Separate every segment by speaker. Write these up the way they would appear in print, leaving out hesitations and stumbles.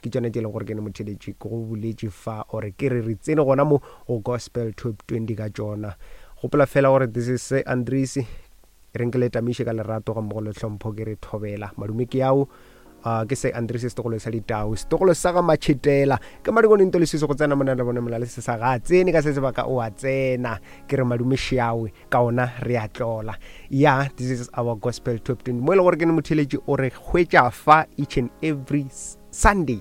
Speaker 1: ke tšona tše e leng gore ke ne motheletši ke go boletše fa or ke re re tsene gona mo go Gospel Top 20 ka tšona. Gopola fela gore this is Sir Andries, e reng ke le tamiše ka lerato ga mmogo le tlhompho ke re thobela. Madume ke ao. Uh, ke se Andries setogolo sa ditau setogolo sa ga matšhetela ke madikone nto leswiso go tsena mona le bone mola le se sa ga tsene ka se sebaka o a tsena ke re madume šiawe ka ona re a tlola ya this is our gospel top 20 mo e le gore ke ne motheletši o re hwetša fa each and every sunday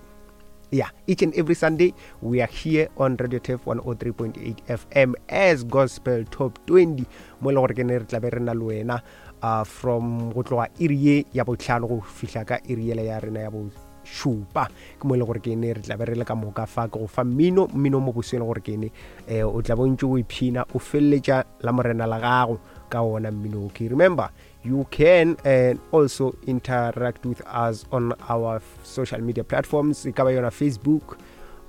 Speaker 1: yeah each and every sunday we are here on radio tef 103.8 fm as gospel top 20 mo e le gore ke ne re tlabe re na le wena uh, from go tloga iri ye ya botlhano go fihla ka iri yela ya rena ya bošupa ke mo e le gore ke ne re tlabe re le ka moka fa ke go fa mmino mmino mo boseng gore ke ne eh, o tla bontse o iphina o feleletša la morena la gago ka ona mmino okay remember you can and eh, also interact with us on our social media platforms e ka ba yona facebook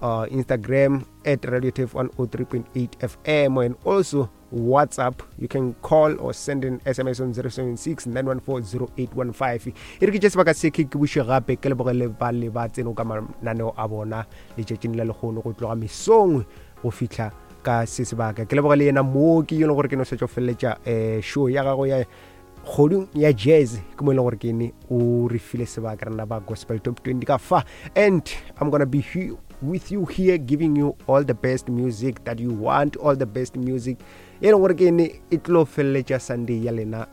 Speaker 1: uh, instagram at radio tef 103.8 fm and also whatsapp you can call or send an sms on 076 914 0815 e re ke tše sebaka se ke ke buše gape ke lebogele ba le ba tseno ka mananeo a bona letšatšing la lekgono go tloga mesong go fihla ka se sebaka ke leboga le yena moo ke yone gore ke no setša go feleletša um show ya gago ya kgodung ya jazz ke mo e leng gore ke ne o re file sebaka rena ba gospel top 20 ka fa and i'm gonna be here with you here giving you all the best music that you want all the best music e leng gore ke ne e tlo feleletša sunday ya lena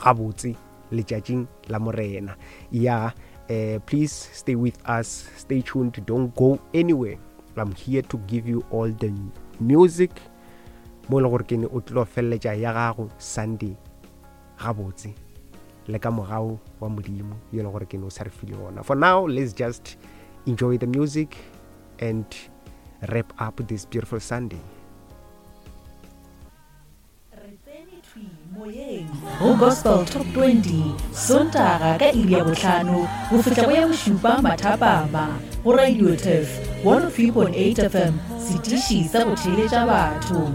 Speaker 1: gabotse letšatšing la morena ya uh, please stay with us stay tuned don't go anywhere i'm here to give you all the music mo e le gore ke ne o tlo feleletša ya gago sunday gabotse le ka mogau wa modimo yo e le gore ke ne o sa re file ona for now let's just enjoy the music and wrap up this beautiful sunday
Speaker 2: Re tsene thwi moyeng go Gospel Top 20 Sontaga ka iri ya bohlano go fihla go ya bošupa mathapama go Radio Turf 103.8 FM, setiši sa go theeletša batho.